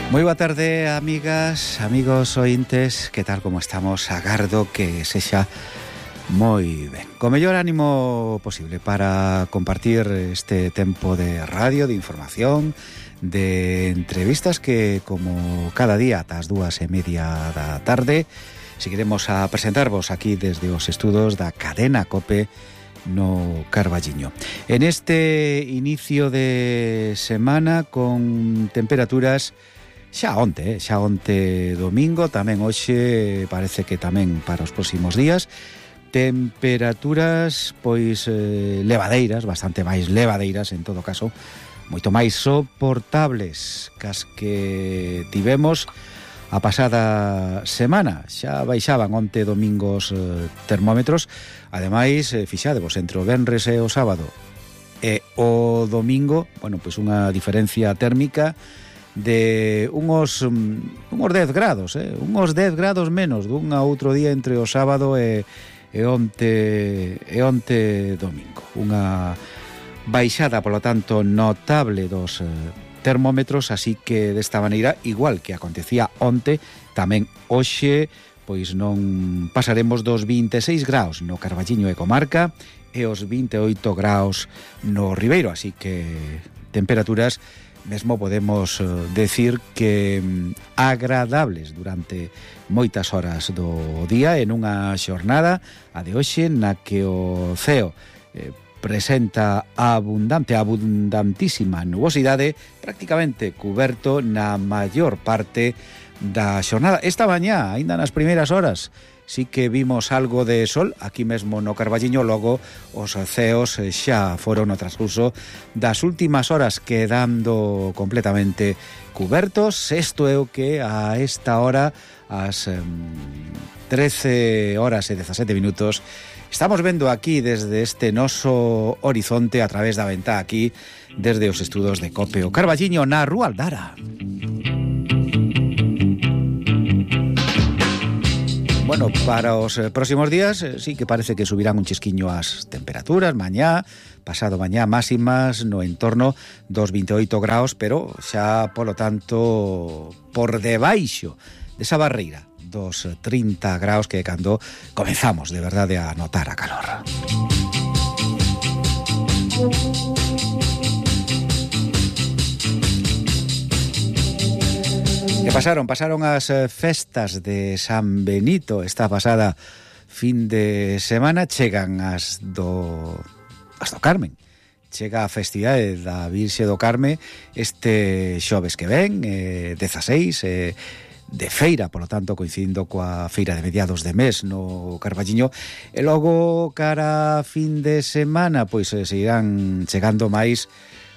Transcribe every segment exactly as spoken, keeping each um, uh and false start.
Moi boa tarde, amigas, amigos ointes. Que tal, como estamos? Agardo que sexa moi ben, co mellor ánimo posible para compartir este tempo de radio, de información, de entrevistas que, como cada día ás dúas e media da tarde, seguiremos a presentarvos aquí desde os estudos da cadena COPE no Carballiño. En este inicio de semana con temperaturas xa onte, xa onte domingo, tamén hoxe parece que tamén para os próximos días, temperaturas pois eh, levadeiras, bastante máis levadeiras en todo caso, moito máis soportables cas que tivemos a pasada semana. Xa baixaban onte domingos eh, termómetros, ademais eh, fixadevos entre o venres e o sábado e o domingo, bueno, pois unha diferencia térmica de unhos unhos dez grados, eh? unhos dez grados menos dun a outro día entre o sábado e, e onte e onte domingo. Unha baixada, polo tanto, notable dos eh, termómetros, así que desta maneira, igual que acontecía onte, tamén hoxe pois non pasaremos dos vinte e seis graus no Carballiño e comarca e os vinte e oito graus no Ribeiro, así que temperaturas mesmo podemos decir que agradables durante moitas horas do día en unha xornada, a de hoxe, na que o ceo eh, presenta abundante, abundantísima nubosidade, prácticamente cuberto na maior parte da xornada. Esta mañá, aínda nas primeiras horas, sí que vimos algo de sol aquí mesmo no Carballiño, logo os ceos xa foron no transcurso das últimas horas quedando completamente cubertos. Isto é o que a esta hora, ás trece horas e dezasete minutos, estamos vendo aquí desde este noso horizonte a través da ventá aquí desde os estudos de COPE o Carballiño na Rúa Aldara. Bueno, para os eh, próximos días eh, sí que parece que subirán un chisquiño as temperaturas, mañá, pasado mañá, máximas no entorno dos vinte e oito graus, pero xa, polo tanto, por debaixo desa barreira dos trinta graus que cando comenzamos de verdade a notar a calor. Que pasaron? Pasaron as festas de San Benito esta pasada fin de semana, chegan as do as do Carmen. Chega a festividade da Virxe do Carme este xoves que ven, eh, dezaseis, eh, de feira, polo tanto, coincidindo coa feira de mediados de mes no Carballiño, e logo cara a fin de semana, pois eh, seguirán chegando máis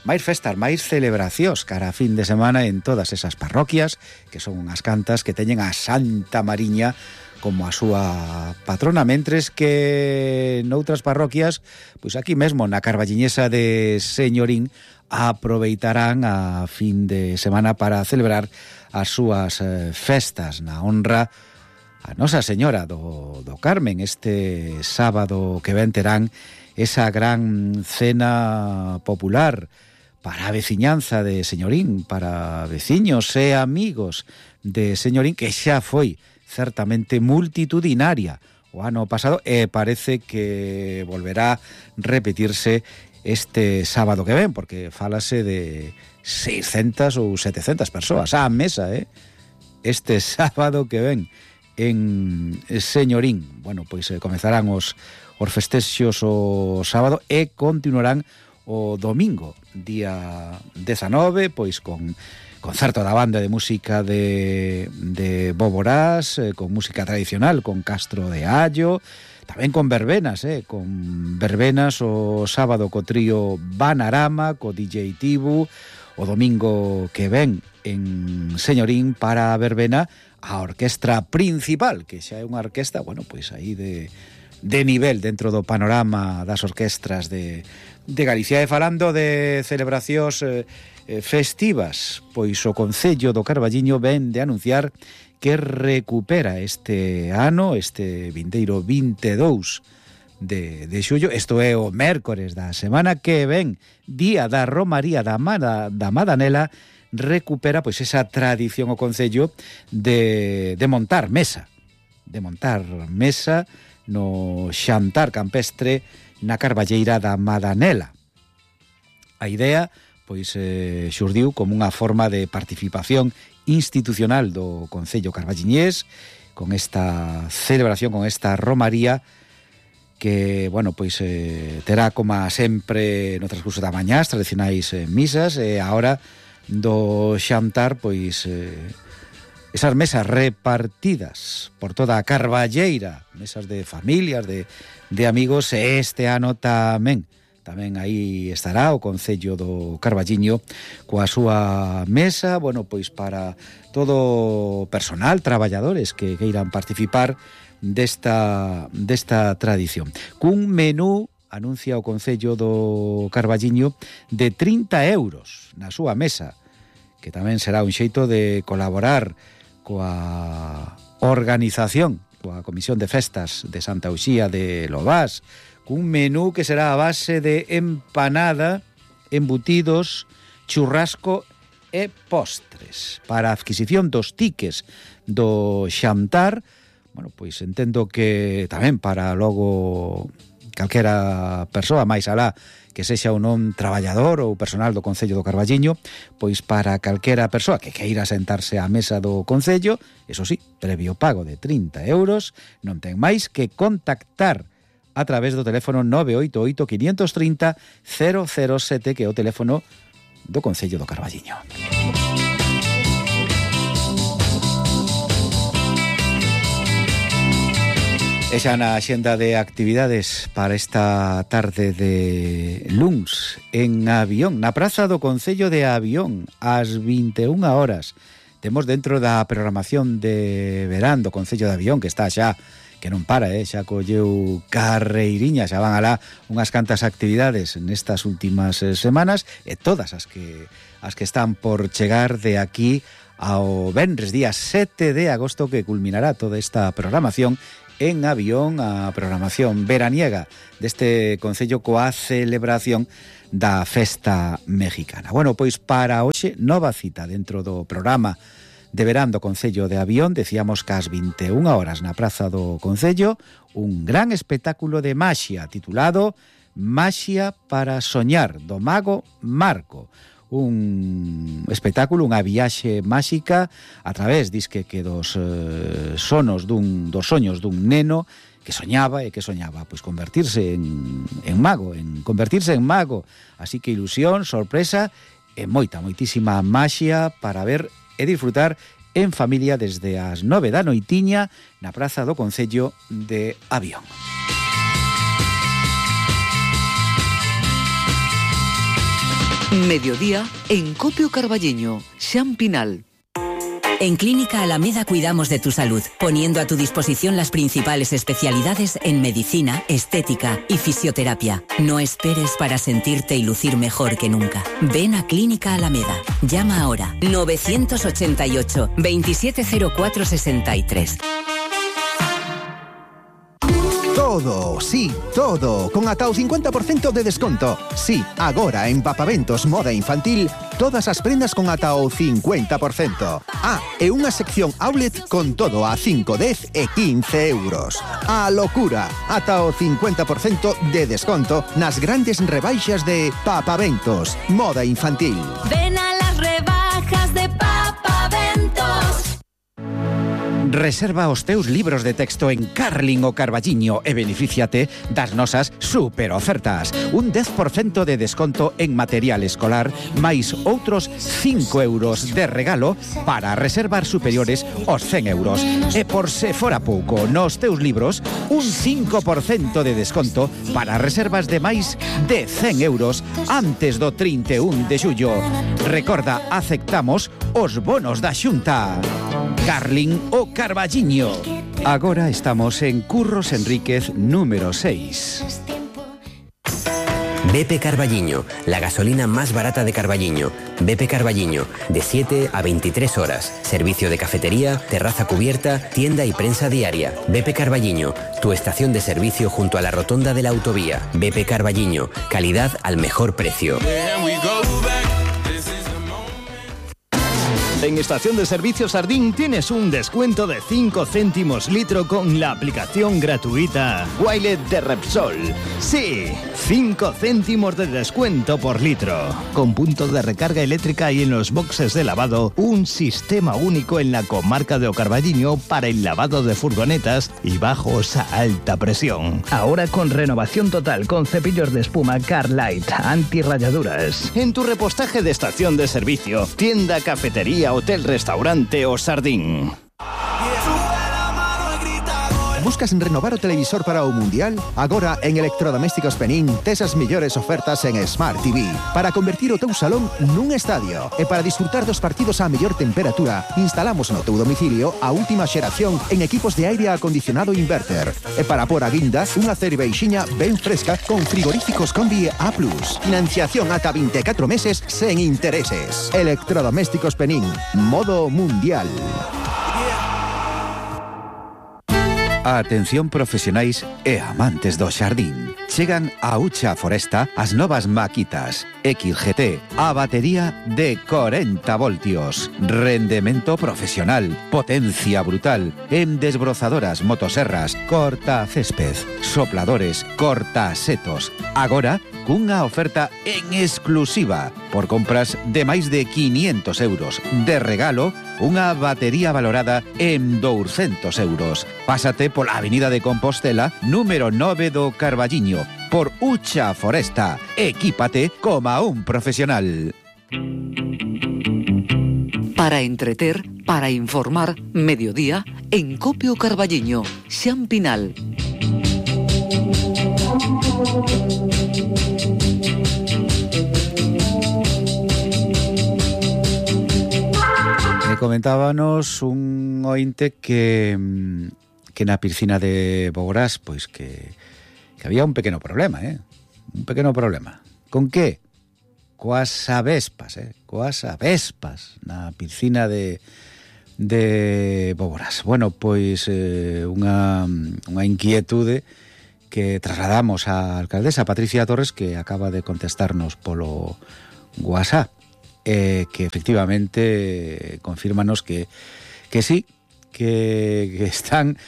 máis festas, máis celebracións cara a fin de semana en todas esas parroquias, que son unhas cantas que teñen a Santa Mariña como a súa patrona, mentres que noutras parroquias, pois aquí mesmo na Carballiñesa de Señorín, aproveitarán a fin de semana para celebrar as súas eh, festas na honra a Nosa Señora do, do Carmen. Este sábado que ven terán esa gran cena popular para a veciñanza de Señorín, para veciños e amigos de Señorín, que xa foi certamente multitudinaria o ano pasado e parece que volverá a repetirse este sábado que ven, porque falase de seiscentas ou setecentas persoas á mesa, eh? Este sábado que ven en Señorín. Bueno, pois eh, comezarán os, os festexos o sábado e continuarán o domingo, día dezanove, pois con concerto da banda de música de, de Boborás, eh, con música tradicional, con Castro de Allo, tamén con verbenas, eh, con verbenas o sábado co trío Banarama, co D J Tibu, o domingo que ven en Señorín para a verbena a orquestra principal, que xa é unha orquesta, bueno, pois aí de, de nivel dentro do panorama das orquestras de, de Galicia. E falando de celebracións eh, festivas, pois o Concello do Carballiño ven de anunciar que recupera este ano, este vindeiro vinte e dous de, de xullo, isto é o mércores da semana que ven, día da Romaría da, Mada, da Madanela, recupera pois esa tradición o concello de, de montar mesa, de montar mesa no xantar campestre na Carballeira da Madanela. A idea pois eh, xurdiu como unha forma de participación institucional do Concello carballiñés con esta celebración, con esta romaría que, bueno, pois eh, terá como sempre no transcurso da mañá as tradicionais eh, misas e agora do xantar, pois eh, esas mesas repartidas por toda a Carballeira, mesas de familias, de, de amigos, e este ano tamén Tamén aí estará o Concello do Carballiño coa súa mesa, bueno, pois para todo personal, traballadores que queiran participar desta, desta tradición. Cun menú, anuncia o Concello do Carballiño, de trinta euros na súa mesa, que tamén será un xeito de colaborar coa organización, coa Comisión de Festas de Santa Uxía de Lobás, cun menú que será a base de empanada, embutidos, churrasco e postres. Para a adquisición dos tiques do xantar, bueno, pois entendo que tamén para logo calquera persoa máis alá que sexa ou non traballador ou personal do Concello do Carballiño, pois para calquera persoa que queira sentarse á mesa do Concello, eso sí, previo pago de trinta euros, non ten máis que contactar a través do teléfono nove oito oito, cinco tres cero, cero cero sete, que é o teléfono do Concello do Carballiño. E xa na xenda de actividades para esta tarde de luns en Avión, na praza do Concello de Avión, ás vinte e unha horas, temos dentro da programación de verán do Concello de Avión, que está xa que non para, eh? xa colleu carreiriña, xa van alá unhas cantas actividades nestas últimas eh, semanas, e todas as que as que están por chegar de aquí ao venres día sete de agosto, que culminará toda esta programación en Avión, a programación veraniega deste Concello coa celebración da Festa Mexicana. Bueno, pois para hoxe nova cita dentro do programa de verán do Concello de Avión, decíamos que ás vinte e unha horas na praza do Concello, un gran espectáculo de maxia titulado Maxia para soñar, do mago Marco. Un espectáculo, unha viaxe máxica a través, disque que dos eh, sonos dun, dos soños dun neno que soñaba e que soñaba pois convertirse en, en mago, en convertirse en mago. Así que ilusión, sorpresa e moita, moitísima maxia para ver e disfrutar en familia desde as nove da noitiña na praza do Concello de Avión. Mediodía en Copio Carballiño, Xan Pinal. En Clínica Alameda cuidamos de tu salud, poniendo a tu disposición las principales especialidades en medicina, estética y fisioterapia. No esperes para sentirte y lucir mejor que nunca. Ven a Clínica Alameda. Llama ahora nueve ocho ocho, veintisiete cero cuatro sesenta y tres. Todo, sí, todo, con ata o cincuenta por cento de desconto. Sí, agora en Papaventos Moda Infantil, todas as prendas con ata o cincuenta por cento. Ah, e unha sección outlet con todo a cinco, dez e quince euros. A locura, ata o cincuenta por cento de desconto nas grandes rebaixas de Papaventos Moda Infantil. Ven a las rebajas de Papaventos. Reserva os teus libros de texto en Carlin o Carballiño e benefíciate das nosas super ofertas. Un dez por cento de desconto en material escolar, máis outros cinco euros de regalo para reservar superiores aos cen euros. E por se fora pouco, nos teus libros, un cinco por cento de desconto para reservas de máis de cen euros antes do trinta e un de xullo. Recorda, aceptamos os bonos da Xunta. Carlin o Carballiño. Agora estamos en Curros Enríquez número seis. B P Carballiño, la gasolina más barata de Carballiño. B P Carballiño, de siete a veintitrés horas. Servicio de cafetería, terraza cubierta, tienda y prensa diaria. B P Carballiño, tu estación de servicio junto a la rotonda de la autovía. B P Carballiño, calidad al mejor precio. En Estación de Servicios Sardín tienes un descuento de cinco céntimos litro con la aplicación gratuita Wilet de Repsol. Sí, cinco céntimos de descuento por litro. Con puntos de recarga eléctrica y en los boxes de lavado, un sistema único en la comarca de O Carballiño para el lavado de furgonetas y bajos a alta presión. Ahora con renovación total con cepillos de espuma Carlight, anti-rayaduras. En tu repostaje de estación de servicio, tienda, cafetería, hotel, restaurante o Sardín. Buscas renovar o televisor para o Mundial? Agora en Electrodomésticos Penín tes as mellores ofertas en Smart T V para convertir o teu salón nun estadio e para disfrutar dos partidos a mellor temperatura. Instalamos no teu domicilio a última xeración en equipos de aire acondicionado inverter e para por a guinda unha cerveixiña ben fresca con frigoríficos Combi A plus. Financiación ata vinte e catro meses sen intereses. Electrodomésticos Penín, modo Mundial. Atención profesionais e amantes do xardín. Chegan a Ucha Foresta as novas maquitas X G T, a batería de corenta voltios, rendemento profesional, potencia brutal, en desbrozadoras, motoserras, corta césped, sopladores, corta setos. Agora, cunha oferta en exclusiva por compras de máis de quinientos euros. De regalo, unha batería valorada en douscentos euros. Pásate pola Avenida de Compostela, número nove do Carballiño, por Ucha Foresta. Equípate como un profesional. Para entreter, para informar, mediodía, en Copio Carballiño, Xan Pinal. Me comentábanos un ointe que que na piscina de Bogorás, pois que, que había un pequeno problema, eh? Un pequeno problema. Con que? Coas avespas, eh? Coas avespas na piscina de de Bogorás. Bueno, pois eh, unha, unha inquietude que trasladamos á alcaldesa Patricia Torres, que acaba de contestarnos polo WhatsApp, eh, que efectivamente confírmanos que que sí, que, que están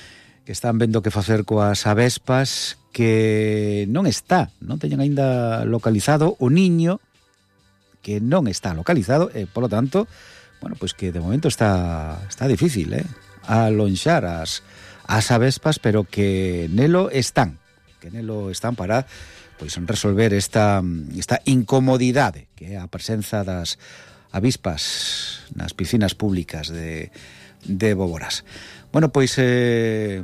que están vendo que facer coas avespas, que non está, non teñen aínda localizado o niño, que non está localizado, e polo tanto, bueno, pois que de momento está está difícil, eh, alonxar as as avespas, pero que nelo están, que nelo están para pois resolver esta esta incomodidade que é a presenza das avispas nas piscinas públicas de de Boborás. Bueno, pois eh,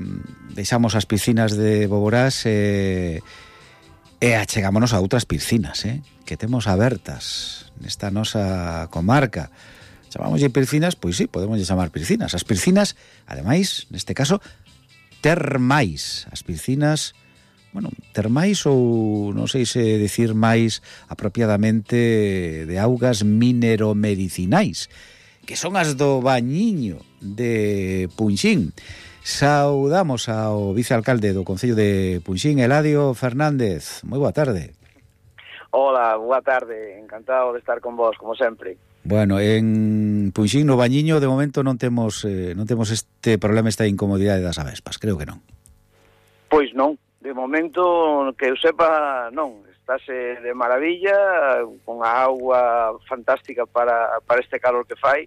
deixamos as piscinas de Boborás e, e achegámonos a outras piscinas, eh, que temos abertas nesta nosa comarca. Chamámoslle piscinas, pois sí, podemos chamar piscinas. As piscinas, ademais, neste caso, termais. As piscinas, bueno, termais ou non sei se decir máis apropiadamente de augas mineromedicinais, que son as do Bañiño de Punxín. Saudamos ao vicealcalde do Concello de Punxín, Eladio Fernández. Moi boa tarde. Hola, boa tarde. Encantado de estar con vos, como sempre. Bueno, en Punxín, no Bañiño, de momento non temos eh, non temos este problema, esta incomodidade das avespas. Creo que non. Pois non. De momento, que eu sepa, non. Estáse de maravilla, con a auga fantástica para, para este calor que fai,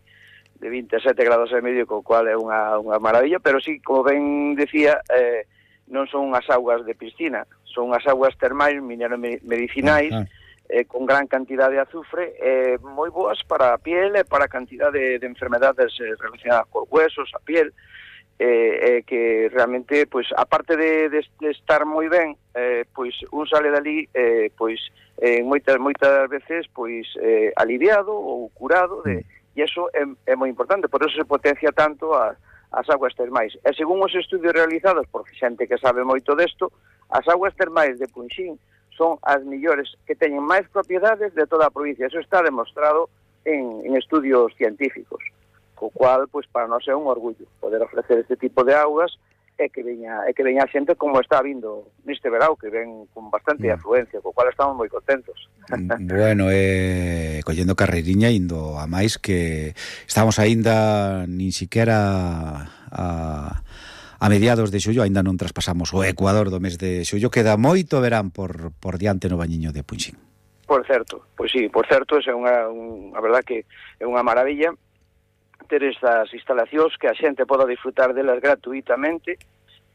de vinte e sete grados e medio, co cual é unha, unha maravilla, pero sí, como ben decía, eh, non son as augas de piscina, son as augas termais, mineromedicinais, ah, ah. eh, con gran cantidad de azufre, eh, moi boas para a piel e para a cantidad de, de enfermedades eh, relacionadas cos huesos, a piel, eh, eh, que realmente, pois, aparte de, de, de estar moi ben, eh, pois un sale dali, eh, pois, eh, moitas moitas veces, pois, eh, aliviado ou curado de, e iso é, é moi importante, por eso se potencia tanto a, as augas termais. E según os estudios realizados por xente que sabe moito desto, as augas termais de Punxín son as millores, que teñen máis propiedades de toda a provincia. Eso está demostrado en, en estudios científicos, co cual, pois, para nós é un orgullo poder ofrecer este tipo de augas e que veña e que veña a xente como está vindo neste verao, que ven con bastante mm. afluencia, co cual estamos moi contentos. Bueno, eh, collendo carreiriña indo a máis que estamos aínda nin siquiera a, a mediados de xullo, aínda non traspasamos o Ecuador do mes de xullo, queda moito verán por, por diante no Bañiño de Punxín. Por certo, pois sí, por certo, é unha, un, a verdad que é unha maravilla ter estas instalacións que a xente poda disfrutar delas gratuitamente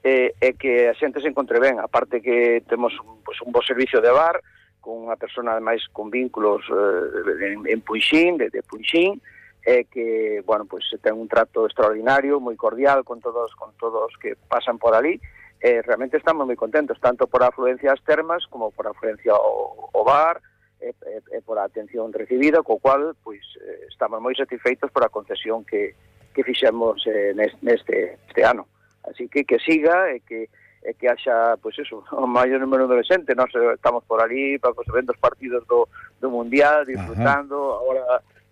e, e que a xente se encontre ben, aparte que temos pues, un bo servicio de bar con unha persona ademais con vínculos eh, en, en Punxín, de, de Punxín, e que, bueno, pues ten un trato extraordinario, moi cordial con todos con todos que pasan por ali, e realmente estamos moi contentos, tanto por a afluencia ás termas como por a afluencia ao, ao bar, e, e, e por a atención recibida, co cual pois eh, estamos moi satisfeitos por a concesión que, que fixemos eh, neste, neste este ano. Así que que siga e que e que haxa, pois eso, o maior número de xente. Nós estamos por ali para os eventos partidos do, do Mundial, disfrutando. Ajá. Agora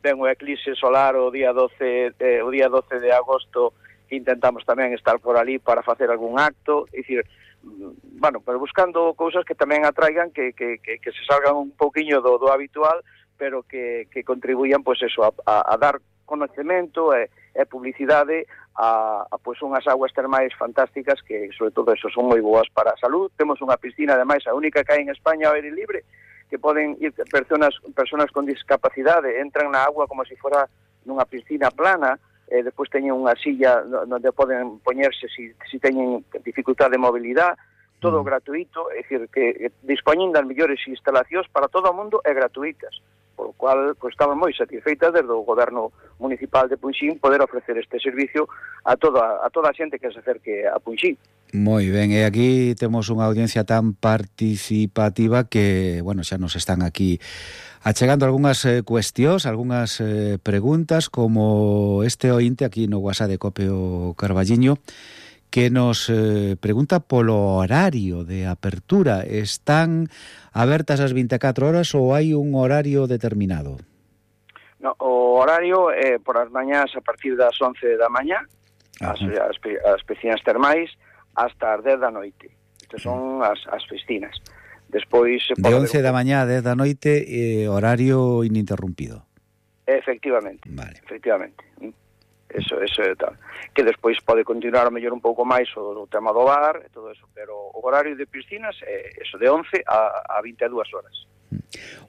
ven o eclipse solar o día doce, eh, o día doce de agosto, que intentamos tamén estar por ali para facer algún acto, é dicir, bueno, pero buscando cousas que tamén atraigan, que, que, que, que se salgan un pouquiño do, do habitual, pero que, que contribuían, pois eso, a, a, a dar conocemento e, e publicidade a, a pois unhas aguas termais fantásticas que, sobre todo, eso, son moi boas para a salud. Temos unha piscina, ademais, a única que hai en España ao aire libre, que poden ir personas, personas con discapacidade, entran na agua como se fora nunha piscina plana, e despois teñen unha silla onde poden poñerse se si, si teñen dificultade de mobilidade, todo mm. gratuito, é dicir, que dispoñen das mellores instalacións para todo o mundo e gratuitas, por lo cual pues, estamos moi satisfeitas desde o Goberno Municipal de Punxín poder ofrecer este servicio a toda a toda a xente que se acerque a Punxín. Moi ben, e aquí temos unha audiencia tan participativa que, bueno, xa nos están aquí achegando algunhas eh, cuestións, algunhas eh, preguntas, como este ointe aquí no WhatsApp de Copio Carballiño, que nos eh, pregunta polo horario de apertura. Están abertas as vinte e catro horas ou hai un horario determinado? No, o horario é eh, por as mañás a partir das once da mañá, as, as, as piscinas termais, hasta as dez da noite. Estas son as, as piscinas. Despois se de once da mañá a dez da noite, eh, horario ininterrumpido. Efectivamente. Vale. Efectivamente. Eso, eso é tal. Que despois pode continuar a mellor un pouco máis o, o tema do bar e todo eso, pero o horario de piscinas é eso, de once a, a vinte e dúas horas.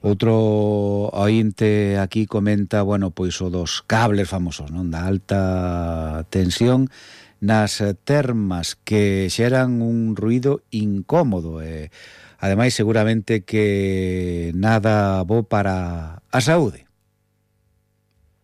Outro ointe aquí comenta, bueno, pois o dos cables famosos, non, da alta tensión nas termas que xeran un ruido incómodo e ademais seguramente que nada bo para a saúde.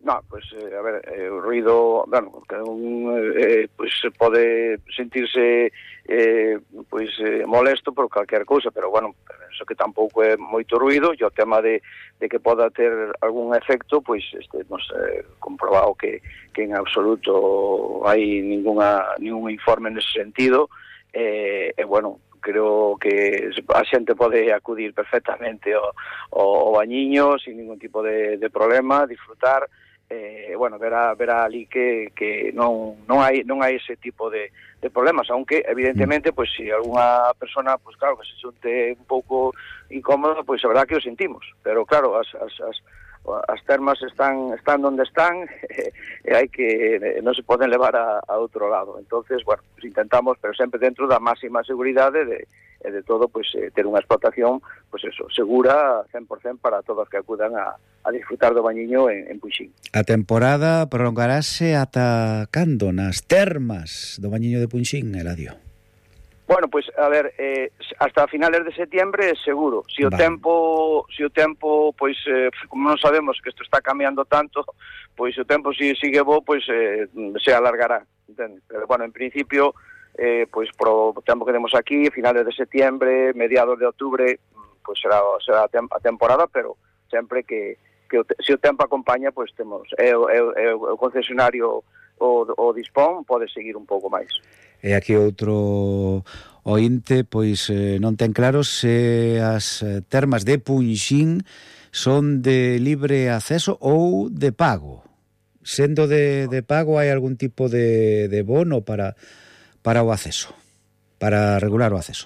No, pues, eh, a ver, eh, o ruido, bueno, que un, eh, pues pode sentirse eh, pues, eh, molesto por calquer cousa, pero bueno, penso que tampouco é moito ruido, e o tema de, de que poda ter algún efecto, pois pues, este, hemos eh, comprobado que, que en absoluto hai ninguna, ningún informe nese sentido, e eh, eh, bueno, creo que a xente pode acudir perfectamente ao, ao bañiño sin ningún tipo de, de problema, disfrutar, eh, bueno, verá, verá ali que, que non, non hai non hai ese tipo de, de problemas, aunque evidentemente, pois pues, si algunha persona, pois pues, claro, que se xunte un pouco incómodo, pois pues, a verdad que o sentimos, pero claro, as, as, as, as termas están están onde están e, e hai que non se poden levar a, a outro lado. Entonces, bueno, pues intentamos, pero sempre dentro da máxima seguridade de e de todo, pues eh, ter unha explotación, pues eso, segura cen por cento para todos que acudan a, a disfrutar do bañiño en, en Punxín. A temporada prolongarase ata cando nas termas do bañiño de Punxín, Eladio? Bueno, pues a ver, eh, hasta finales de septiembre seguro. Si o vale. tempo, si o tempo, pois eh, como non sabemos que isto está cambiando tanto, pois o tempo si sigue bo, pois eh, se alargará, entende? Pero bueno, en principio eh, pois pro tempo que temos aquí, finales de septiembre, mediados de outubro, pois será será a temporada, pero sempre que que o, se o tempo acompaña, pois temos é é o concesionario o, o dispón, pode seguir un pouco máis. E aquí outro ointe, pois eh, non ten claro se as termas de Punxín son de libre acceso ou de pago. Sendo de, de pago, hai algún tipo de, de bono para para o acceso, para regular o acceso.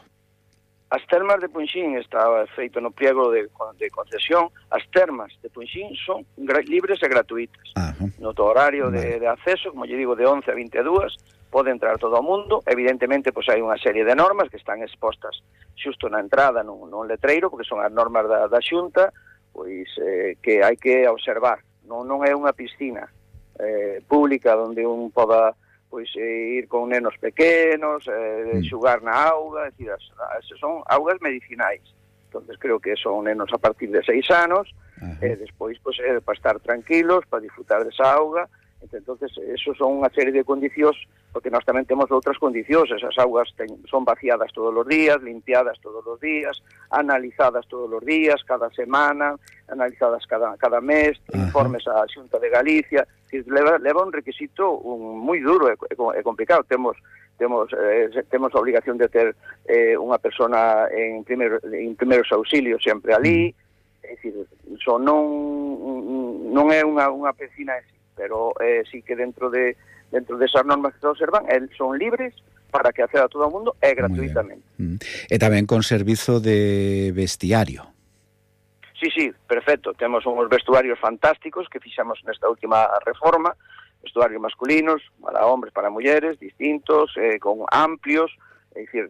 As termas de Punxín estaba feito no pliego de, de concesión. As termas de Punxín son libres e gratuitas. Ajá. No horario de, de acceso, como lle digo, de once a veintidós, pode entrar todo o mundo. Evidentemente, pois hai unha serie de normas que están expostas xusto na entrada nun, nun letreiro, porque son as normas da, da Xunta, pois eh, que hai que observar. Non, non é unha piscina eh, pública onde un poda pois eh, ir con nenos pequenos, eh, xugar na auga, é dicir, as, as, son augas medicinais. Entonces creo que son nenos a partir de seis anos, e eh, despois pois, eh, para estar tranquilos, para disfrutar desa auga. Entonces, eso son unha serie de condicións, porque nós tamén temos outras condicións. Esas augas ten, son vaciadas todos os días, limpiadas todos os días, analizadas todos os días, cada semana, analizadas cada, cada mes, informes á Xunta de Galicia. Leva, leva un requisito un, moi duro e, e complicado. Temos temos eh, temos a obligación de ter eh, unha persona en, primeiro, en primeiros auxilios sempre ali. É dicir, so non, non é unha, unha piscina en sí, pero eh, sí que dentro de dentro desas normas que se observan, eh, son libres para que acceda a todo o mundo e gratuitamente. Mm. E tamén con servizo de vestiario. Sí, sí, perfecto. Temos uns vestuarios fantásticos que fixamos nesta última reforma, vestuarios masculinos, para hombres, para mulleres, distintos, eh, con amplios, é dicir,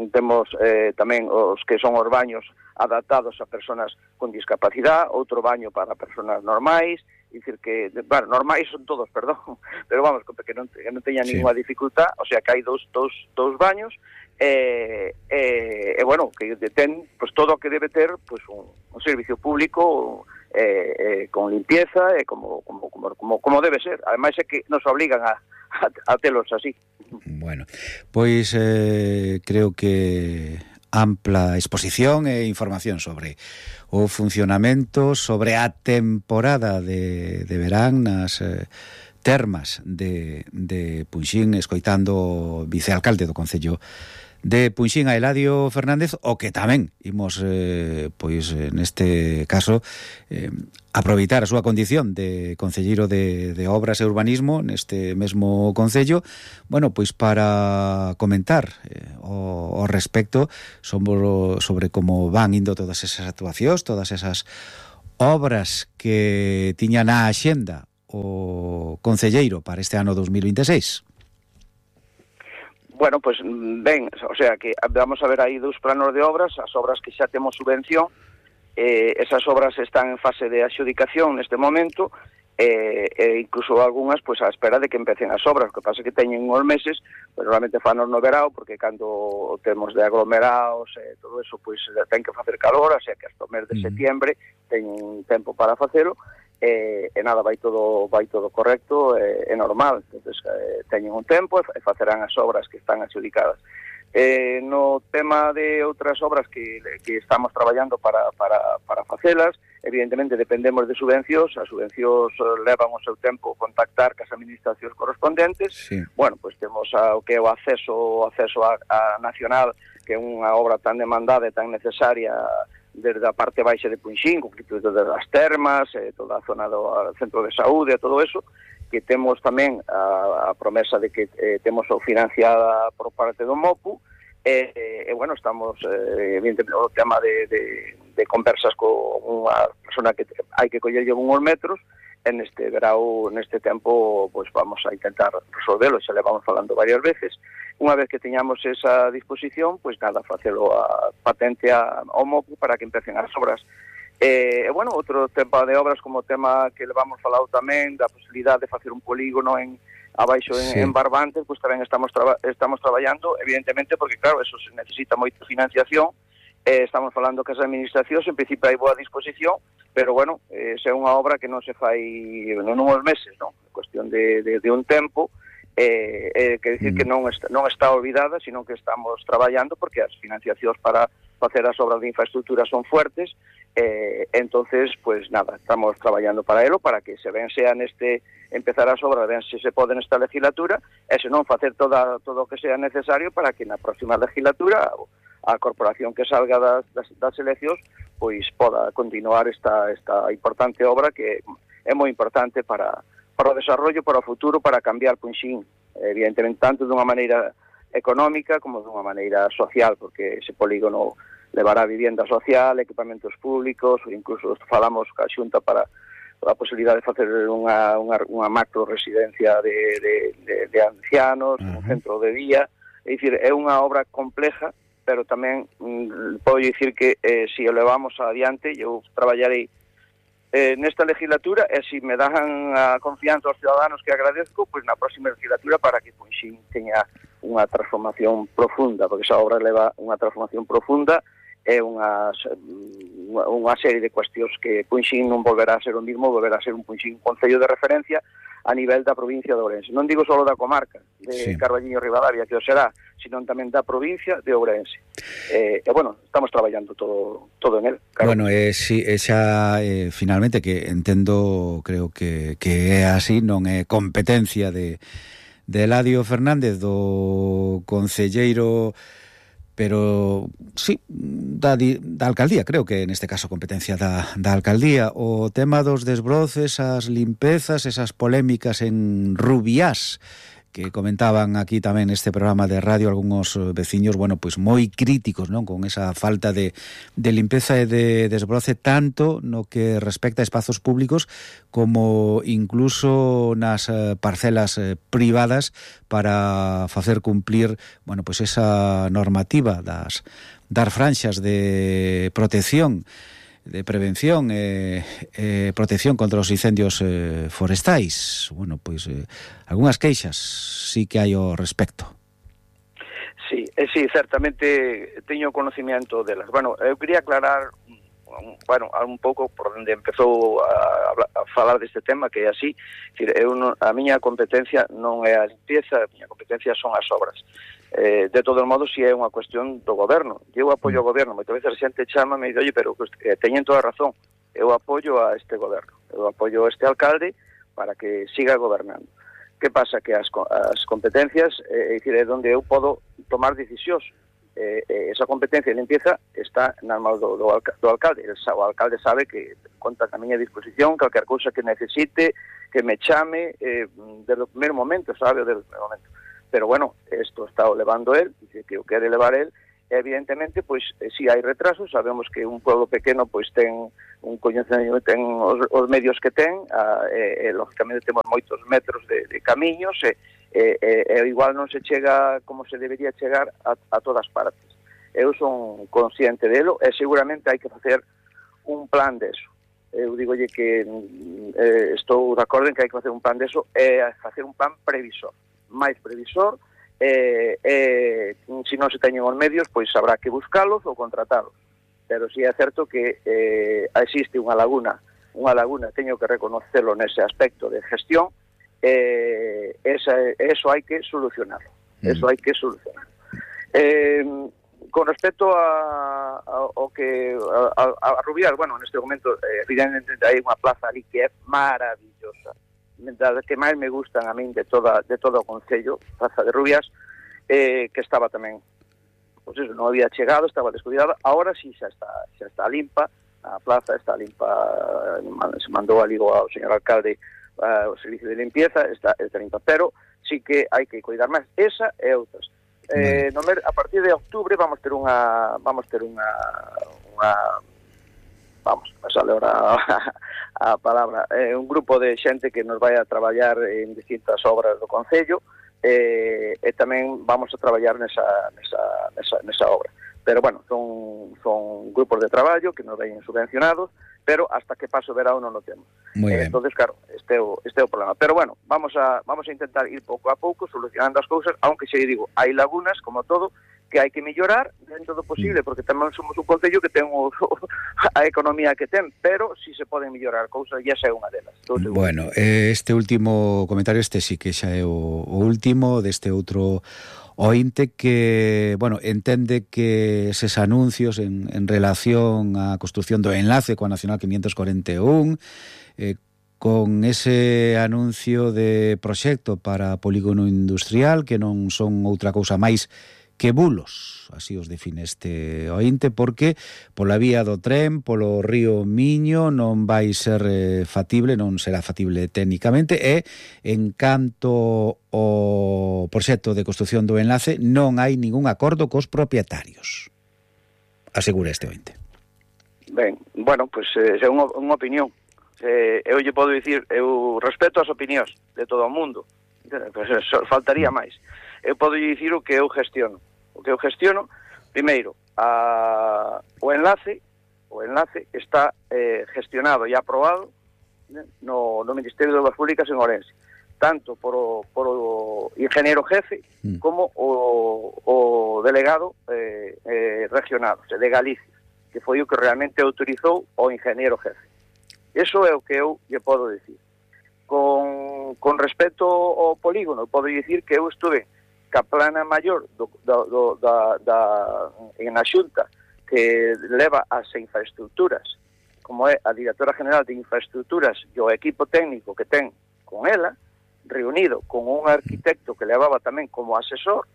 temos eh, tamén os que son os baños adaptados a persoas con discapacidade, outro baño para persoas normais, é dicir que, bueno, normais son todos, perdón, pero vamos, que non, que non teña sí. ninguna dificultad, o sea que hai dous, dous, dous baños, e, e, e bueno, que ten pues, todo o que debe ter pues, un, un servicio público eh, eh, con limpieza e como, como, como, como, como debe ser. Ademais é que nos obligan a, a, a telos así. Bueno, pois eh, creo que ampla exposición e información sobre o funcionamento, sobre a temporada de, de verán nas eh, termas de, de Punxín, escoitando o vicealcalde do Concello de Punxín, a Eladio Fernández, o que tamén imos, eh, pois, neste caso, eh, aproveitar a súa condición de concelleiro de, de Obras e Urbanismo neste mesmo Concello, bueno, pois para comentar eh, o, o respecto sobre, sobre como van indo todas esas actuacións, todas esas obras que tiñan na axenda o concelleiro para este ano dos mil veintiséis. Bueno, pues ben, o sea que vamos a ver aí dous planos de obras, as obras que xa temos subvención, eh, esas obras están en fase de adxudicación neste momento, e eh, eh, incluso algunhas pues a espera de que empecen as obras, o que pasa que teñen uns meses, pues normalmente fanos no verao, porque cando temos de aglomerados e eh, todo eso, pues ten que facer calor, o sea que hasta o mes de setiembre teñen tempo para facelo, e, e nada, vai todo vai todo correcto e, e normal. Entonces eh, teñen un tempo e facerán as obras que están adxudicadas. Eh, no tema de outras obras que, que estamos traballando para, para, para facelas, evidentemente dependemos de subvencións, as subvencións levan o seu tempo contactar cas administracións correspondentes. Sí. Bueno, pois pues temos a, o que é o acceso, o acceso a, a nacional, que é unha obra tan demandada e tan necesaria desde a parte baixa de Punxín, concreto desde as termas, eh, toda a zona do centro de saúde e todo eso, que temos tamén a, a promesa de que eh, temos o financiada por parte do MOPU, e, eh, eh, bueno, estamos, eh, evidentemente, o tema de, de, de conversas con unha persona que hai que collerlle uns metros, e neste verao, neste tempo, pues vamos a intentar resolvelo, xa le vamos falando varias veces. Unha vez que teñamos esa disposición, pues nada, facelo a patente ao MOPU para que empecen as obras. E, eh, bueno, outro tema de obras como o tema que le vamos falado tamén da posibilidade de facer un polígono en abaixo en, sí. en Barbantes, pues tamén estamos traba, estamos traballando, evidentemente, porque claro, eso se necesita moita financiación, eh, estamos falando que as administracións en principio hai boa disposición, pero bueno, eh, se é unha obra que non se fai non uns meses, non? Cuestión de, de, de un tempo, eh, eh, que decir mm. que non está, non está olvidada, sino que estamos traballando porque as financiacións para facer as obras de infraestructura son fuertes, eh, entonces, pues nada, estamos traballando para elo, para que se ven sea neste, empezar as obras, ven se se pode nesta legislatura, e se non facer toda, todo o que sea necesario para que na próxima legislatura a corporación que salga das, das, das eleccións, pois poda continuar esta, esta importante obra que é moi importante para, para o desarrollo, para o futuro, para cambiar Punxín, evidentemente, tanto dunha maneira económica como dunha maneira social, porque ese polígono levará vivenda social, equipamentos públicos, ou incluso falamos ca Xunta para a posibilidade de facer unha, unha, unha macro residencia de, de, de, de ancianos, uh-huh. un centro de día. É dicir, é unha obra compleja, pero tamén mm, podo dicir que eh, se si o levamos adiante, eu traballarei eh, nesta legislatura e se si me dan a confianza aos ciudadanos que agradezco, pois na próxima legislatura para que Punxín teña unha transformación profunda, porque esa obra leva unha transformación profunda é unha, unha serie de cuestións que Punxín non volverá a ser o mismo, volverá a ser un Punxín concello de referencia a nivel da provincia de Ourense. Non digo só da comarca de sí. Carballiño Ribadavia, que o será, sino tamén da provincia de Ourense. Eh, e, bueno, estamos traballando todo todo en él. Claro. Bueno, eh, si, xa, eh, finalmente, que entendo, creo que, que é así, non é competencia de, de Eladio Fernández, do concelleiro, pero sí, da, da alcaldía, creo que neste caso competencia da, da alcaldía. O tema dos desbroces, as limpezas, esas polémicas en Rubiás, que comentaban aquí tamén neste programa de radio algúns veciños, bueno, pois moi críticos, non, con esa falta de, de limpeza e de desbroce, tanto no que respecta a espazos públicos como incluso nas parcelas privadas, para facer cumplir, bueno, pois esa normativa das, das franxas de protección, de prevención e eh, eh, protección contra os incendios eh, forestais. Bueno, pois eh, algunhas queixas sí que hai ao respecto. Sí, eh, sí, certamente teño conocimiento delas. Bueno, eu quería aclarar bueno, un pouco por onde empezou a, a falar deste tema, que é así. Decir, eu non, a miña competencia non é a limpieza, a miña competencia son as obras. Eh, de todos modos, si é unha cuestión do goberno. Eu apoio o goberno, moitas veces a xente chama e me dice, oye, pero eh, teñen toda a razón, eu apoio a este goberno, eu apoio a este alcalde para que siga gobernando. Que pasa? Que as, as competencias, eh, é dicir, é onde eu podo tomar decisións. Eh, eh, esa competencia de limpieza está nas mãos do, do, do alcalde. El, o alcalde sabe que conta a miña disposición, calquer cousa que necesite, que me chame, eh, desde o primeiro momento, sabe, desde o primeiro momento. Pero bueno, isto está o levando él, dice que o quere levar él, e evidentemente, pois, eh, si hai retrasos, sabemos que un pueblo pequeno, pois, ten un coñecemento, ten os, os medios que ten, a, e, e, lógicamente, temos moitos metros de, de camiños, e, e, e, e igual non se chega como se debería chegar a, a todas partes. Eu son consciente delo, e seguramente hai que facer un plan deso. Eu digolle que eh, estou de acordo en que hai que facer un plan deso, e facer un plan previsor. máis previsor, e, e se non se teñen os medios, pois habrá que buscalos ou contratalos. Pero si é certo que eh, existe unha laguna, unha laguna, teño que reconocerlo nese aspecto de gestión, e eh, esa, eso hai que solucionarlo. Mm. Eso hai que solucionarlo. Eh, con respecto a, a, ao que a, a, a Rubiás, bueno, neste momento, eh, evidentemente hai unha plaza ali que é maravillosa, das que máis me gustan a min de toda de todo o concello, Plaza de Rubiás, eh, que estaba tamén, pois eso, non había chegado, estaba descuidada. Ahora sí xa está xa está limpa, a plaza está limpa, se mandou ali ao señor alcalde uh, o servicio de limpieza, está, está limpa, pero sí que hai que cuidar máis esa e outras. Eh, no mer, a partir de octubre vamos ter unha vamos ter unha unha vamos, a sale ahora a palabra, é eh, un grupo de xente que nos vai a traballar en distintas obras do concello, eh, e tamén vamos a traballar nesa, nesa, nesa, nesa obra. Pero, bueno, son, son grupos de traballo que nos ven subvencionados, pero hasta que paso o verão non o temos. Eh, entonces, claro, este é, o, este é o problema. Pero, bueno, vamos a, vamos a intentar ir pouco a pouco solucionando as cousas, aunque xe digo, hai lagunas, como todo, que hai que mellorar dentro do posible, porque tamén somos un concello que ten o, a economía que ten, pero si se poden mellorar cousas, e esa é unha delas. Bueno, este último comentario, este sí que xa é o, o último deste outro ointe que, bueno, entende que eses anuncios en, en relación á construción do enlace coa Nacional quinientos cuarenta e un, eh, con ese anuncio de proxecto para polígono industrial, que non son outra cousa máis que bulos, así os define este ointe, porque pola vía do tren, polo río Miño, non vai ser eh, factible, non será factible técnicamente, e en canto ao proxecto de construción do enlace non hai ningún acordo cos propietarios, asegura este ointe. Ben, bueno, pois pues, eh, é unha, unha opinión. Eh, eu lle podo dicir, eu respeto as opinións de todo o mundo, pois pues, faltaría máis. Eu podo dicir o que eu gestiono. O que eu gestiono, primeiro, a, o enlace, o enlace está eh, gestionado e aprobado no, no Ministerio de Obras Públicas en Ourense, tanto por o, por o ingeniero jefe mm. como o, o delegado eh, eh, regional, o sea, de Galicia, que foi o que realmente autorizou o ingeniero jefe. Eso é o que eu lle podo dicir. Con, con respecto ao polígono, podo dicir que eu estuve ca plana maior do, do, do, da, da, en a xunta que leva as infraestructuras, como é a directora general de infraestructuras e o equipo técnico que ten con ela, reunido con un arquitecto que levaba tamén como asesor,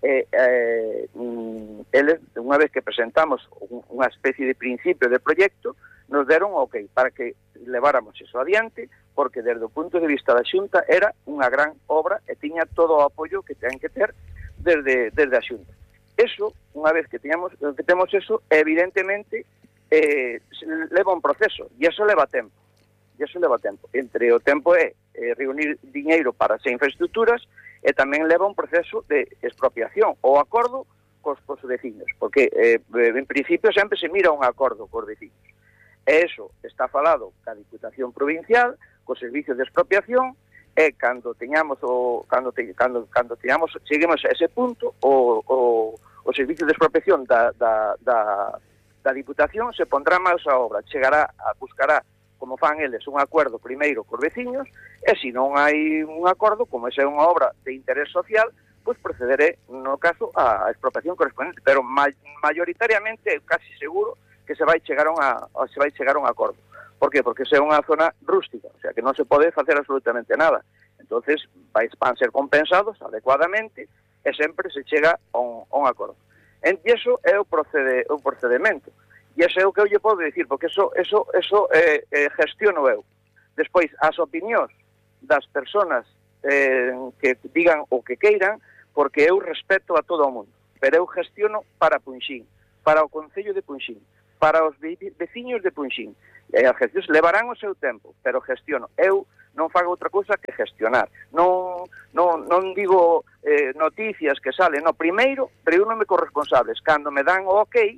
e eh, eles, unha vez que presentamos unha especie de principio de proxecto, nos deron ok para que leváramos eso adiante, porque desde o punto de vista da Xunta era unha gran obra e tiña todo o apoio que ten que ter desde, desde a Xunta. Eso, unha vez que teñamos, que temos eso, evidentemente eh, leva un proceso, e eso leva tempo. E eso leva tempo. Entre o tempo é eh, reunir diñeiro para as infraestructuras e tamén leva un proceso de expropiación ou acordo cos, cos veciños, porque eh, en principio sempre se mira un acordo cos veciños. E eso está falado ca Diputación Provincial, co servicio de expropiación, e cando teñamos o cando te, cando cando teñamos cheguemos a ese punto, o, o, o servicio de expropiación da, da, da, da Diputación se pondrá máis a obra, chegará a buscará, como fan eles, un acordo primeiro cos veciños, e se non hai un acordo, como esa é unha obra de interés social, pois procederé, no caso, a expropiación correspondente, pero ma mayoritariamente, casi seguro, que se vai chegar a unha, se vai chegar a un acordo. Por qué? Porque é unha zona rústica, o sea, que non se pode facer absolutamente nada. Entonces, vai, van ser compensados adecuadamente e sempre se chega a un, a un acordo. E iso é o, procede, o procedimento. E iso é o que eu lle podo dicir, porque eso, eso, eso eh, eh, gestiono eu. Despois, as opinións das persoas eh, que digan o que queiran, porque eu respeto a todo o mundo, pero eu gestiono para Punxín, para o Concello de Punxín, para os veciños de Punxín. E as gestións levarán o seu tempo, pero gestiono. Eu non fago outra cousa que gestionar. Non, non, non digo eh, noticias que salen. No, primeiro, reúnome con responsables. Cando me dan o ok,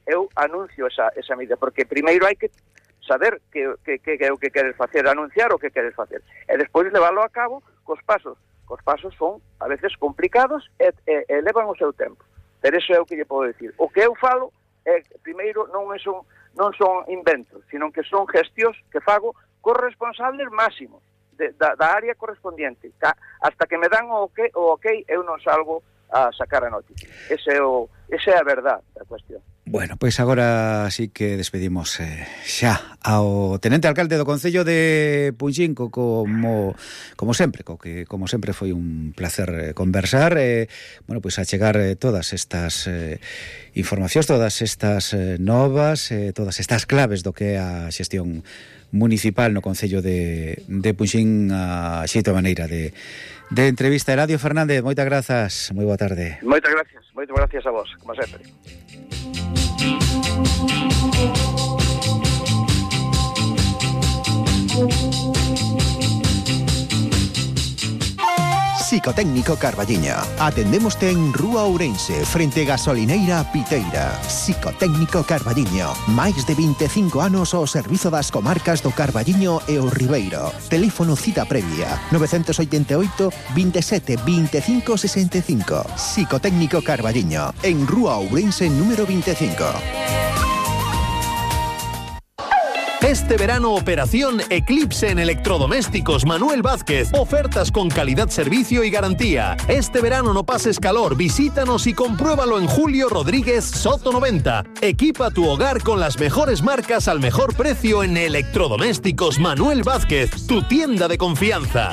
eu anuncio esa, esa medida, porque primeiro hai que saber que, que, que, que é o que queres facer, anunciar o que queres facer. E despois leválo a cabo cos pasos. Cos pasos son, a veces, complicados e, e, e levan o seu tempo. Pero eso é o que lle podo dicir. O que eu falo é, primeiro, non son, non son inventos, sino que son gestións que fago cos responsables máximos de, da, da área correspondiente. Ca, hasta que me dan o ok, o ok, eu non salgo a sacar a noticia. Ese é o, esa é a verdade da cuestión. Bueno, pois agora sí que despedimos eh, xa ao tenente alcalde do Concello de Punxín, co, como como sempre, co que como sempre foi un placer eh, conversar, eh, bueno, pois a chegar eh, todas estas eh, informacións, todas estas eh, novas, eh, todas estas claves do que é a xestión municipal no Concello de, de Punxín, a xeito maneira de, de entrevista. Eladio Fernández, moitas grazas, moi boa tarde. Moitas gracias, moitas gracias a vos, como sempre. Psicotécnico Carballiño. Atendémoste en Rúa Ourense, frente Gasolineira Piteira. Psicotécnico Carballiño. Máis de vinte e cinco anos ao servizo das comarcas do Carballiño e o Ribeiro. Teléfono cita previa nove oito oito, veintisiete, veinticinco sesenta y cinco. Psicotécnico Carballiño, en Rúa Ourense número veinticinco. Este verano, operación Eclipse en electrodomésticos Manuel Vázquez. Ofertas con calidad, servicio y garantía. Este verano no pases calor, visítanos y compruébalo en Julio Rodríguez Soto noventa. Equipa tu hogar con las mejores marcas al mejor precio en electrodomésticos Manuel Vázquez, tu tienda de confianza.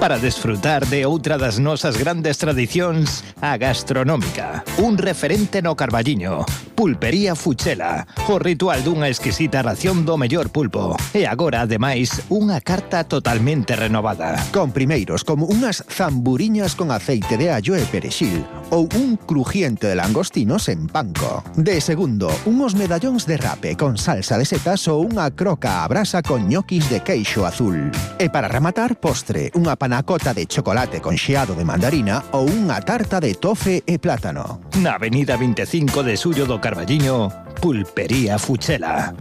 para desfrutar de outra das nosas grandes tradicións, a gastronómica. Un referente no Carballiño, Pulpería Fuchela, o ritual dunha exquisita ración do mellor pulpo. E agora, ademais, unha carta totalmente renovada. Con primeiros como unhas zamburiñas con aceite de allo e perexil ou un crujiente de langostinos en panco. De segundo, unos medallóns de rape con salsa de setas ou unha croca a brasa con ñoquis de queixo azul. E para rematar, postre, unha panacota de chocolate con xeado de mandarina ou unha tarta de tofe e plátano. Na avenida veinticinco de Xullo do Carballiño, Pulpería Fuchela.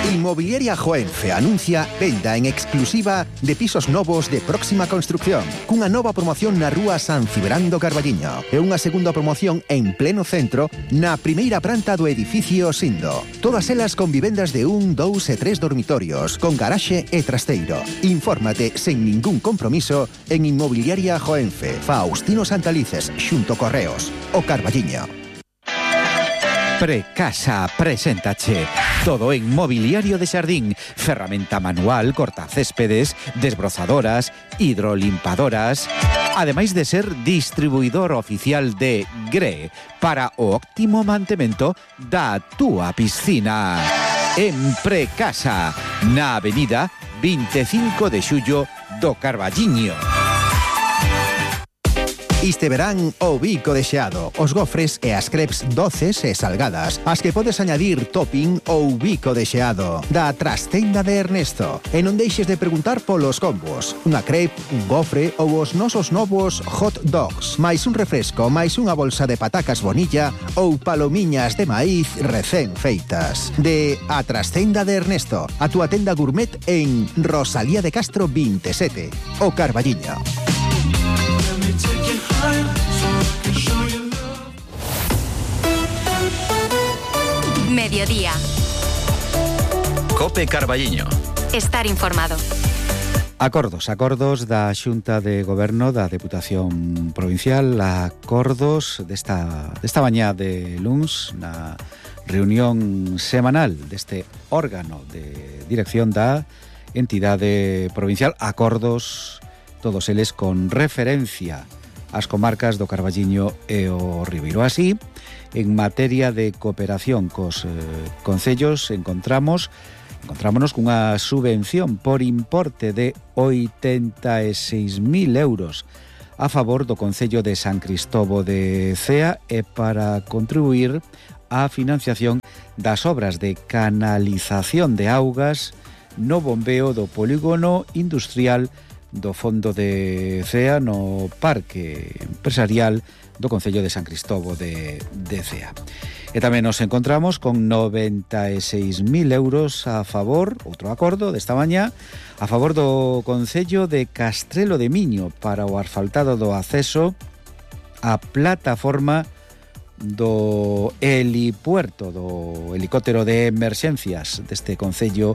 Inmobiliaria Joenfe anuncia venda en exclusiva de pisos novos de próxima construcción, cunha nova promoción na rúa San Cibrán do Carballiño e unha segunda promoción en pleno centro na primeira planta do edificio Sindo. Todas elas con vivendas de un, dous e tres dormitorios, con garaxe e trasteiro. Infórmate sen ningún compromiso en Inmobiliaria Joenfe, Faustino Santalices, xunto Correos, o Carballiño. Precasa preséntache todo en mobiliario de xardín, ferramenta manual, cortacéspedes, desbrozadoras, hidrolimpadoras, ademais de ser distribuidor oficial de Gre para o óptimo mantemento da túa piscina. En Precasa, na avenida veinticinco de Xullo do Carballiño. Este verán o bico de xeado, os gofres e as crepes doces e salgadas, as que podes añadir topping ou bico de xeado, da trastenda de Ernesto. E non deixes de preguntar polos combos, unha crepe, un gofre ou os nosos novos hot dogs, máis un refresco, máis unha bolsa de patacas bonilla ou palomiñas de maíz recén feitas. De a trastenda de Ernesto, a túa tenda gourmet en Rosalía de Castro veintisiete, o Carballiño. Mediodía. Cope Carballiño. Estar informado. Acordos, acordos da Xunta de Goberno da Deputación Provincial, acordos desta, desta mañá de luns na reunión semanal deste órgano de dirección da entidade provincial, acordos todos eles con referencia ás comarcas do Carballiño e o Ribeiro. Así, en materia de cooperación cos eh, concellos, encontramos encontrámonos cunha subvención por importe de oitenta e seis mil euros a favor do Concello de San Cristobo de Cea e para contribuir á financiación das obras de canalización de augas no bombeo do polígono industrial do Fondo de Cea no Parque Empresarial do Concello de San Cristobo de, de Cea. E tamén nos encontramos con noventa e seis mil euros a favor, outro acordo desta mañá, a favor do Concello de Castrelo de Miño para o asfaltado do acceso á plataforma do helipuerto, do helicóptero de emerxencias deste Concello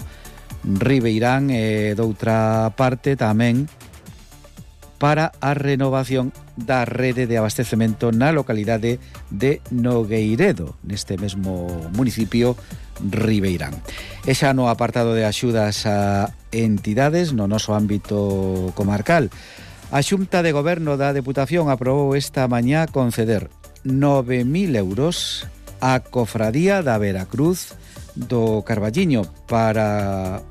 Ribeirán e doutra parte tamén para a renovación da rede de abastecemento na localidade de Nogueiredo, neste mesmo municipio Ribeirán. E xa no apartado de axudas a entidades no noso ámbito comarcal, a Xunta de Goberno da Deputación aprobou esta mañá conceder nove mil euros á Cofradía da Veracruz do Carballiño para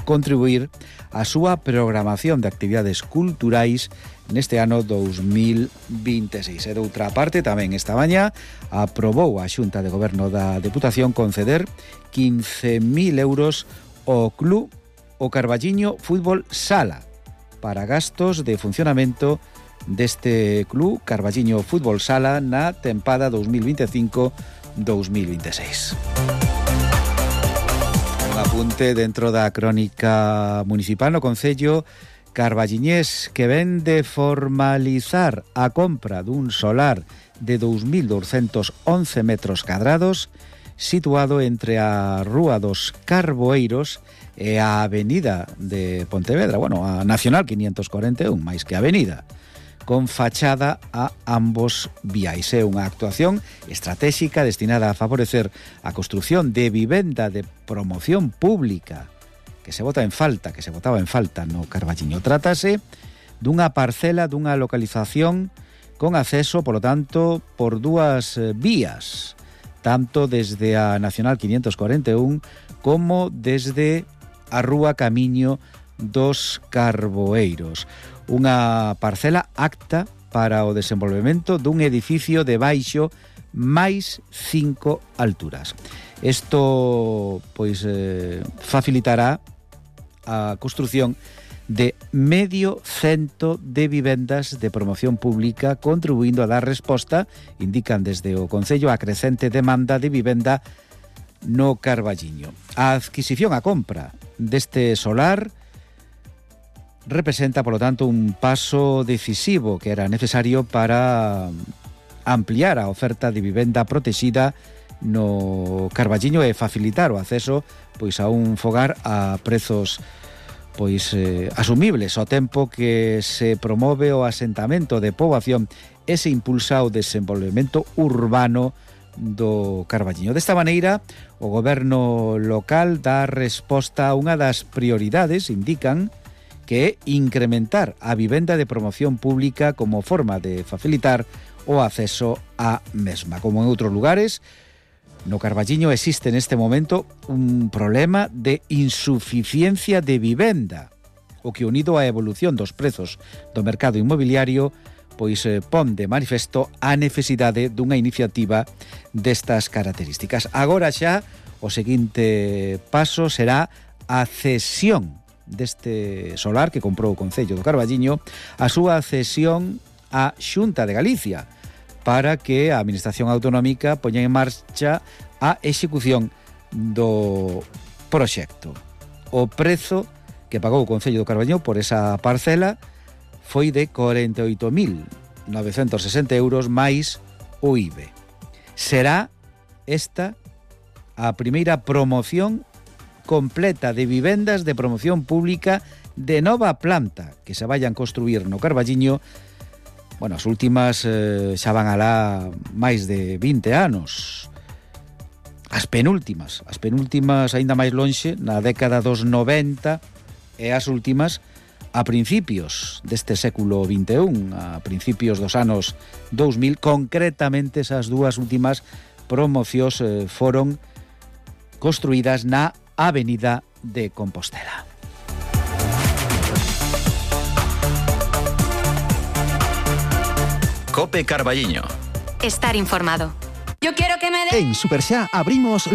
contribuir a súa programación de actividades culturais neste ano dos mil veintiséis. E doutra parte, tamén esta mañá aprobou a Xunta de Goberno da Deputación conceder quince mil euros ao Club o Carballiño Fútbol Sala para gastos de funcionamento deste Club Carballiño Fútbol Sala na tempada dos mil veinticinco dos mil veintiséis. Apunte dentro da crónica municipal no Concello carballiñés que ven de formalizar a compra dun solar de dous mil douscentos once metros cadrados situado entre a Rúa dos Carboeiros e a Avenida de Pontevedra, bueno, a Nacional quinientos cuarenta e un, máis que a Avenida, con fachada a ambos viais. É unha actuación estratégica destinada a favorecer a construción de vivenda de promoción pública que se bota en falta, que se botaba en falta no Carballiño. Trátase dunha parcela, dunha localización con acceso, polo tanto, por dúas eh, vías, tanto desde a Nacional quinientos cuarenta e un como desde a Rúa Camiño dos Carboeiros. Unha parcela apta para o desenvolvemento dun edificio de baixo máis cinco alturas. Isto, pois, eh, facilitará a construción de medio cento de vivendas de promoción pública, contribuindo a dar resposta, indican desde o Concello, a crecente demanda de vivenda no Carballiño. A adquisición, a compra deste solar representa, polo tanto, un paso decisivo que era necesario para ampliar a oferta de vivenda protexida no Carballiño e facilitar o acceso, pois, a un fogar a prezos, pois, eh, asumibles, ao tempo que se promove o asentamento de poboación e se impulsa o desenvolvemento urbano do Carballiño. Desta maneira, o goberno local dá resposta a unha das prioridades, indican, que é incrementar a vivenda de promoción pública como forma de facilitar o acceso á mesma. Como en outros lugares, no Carballiño existe neste momento un problema de insuficiencia de vivenda, o que, unido á evolución dos prezos do mercado inmobiliario, pois eh, pon de manifesto a necesidade dunha iniciativa destas características. Agora xa o seguinte paso será a cesión deste solar que comprou o Concello do Carballiño, a súa cesión á Xunta de Galicia, para que a Administración Autonómica poña en marcha a execución do proxecto. O prezo que pagou o Concello do Carballiño por esa parcela foi de corenta e oito mil novecentos sesenta euros máis o I V A. Será esta a primeira promoción completa de vivendas de promoción pública de nova planta que se vayan construir no Carballiño. Bueno, as últimas eh, xa van alá máis de vinte anos. As penúltimas, as penúltimas aínda máis lonxe, na década dos noventa, e as últimas a principios deste século vinte e un, a principios dos anos dous mil, concretamente esas dúas últimas promocións eh, foron construídas na Avenida de Compostela. Cope Carballiño. Estar informado. Yo quiero que me den... En Superxá abrimos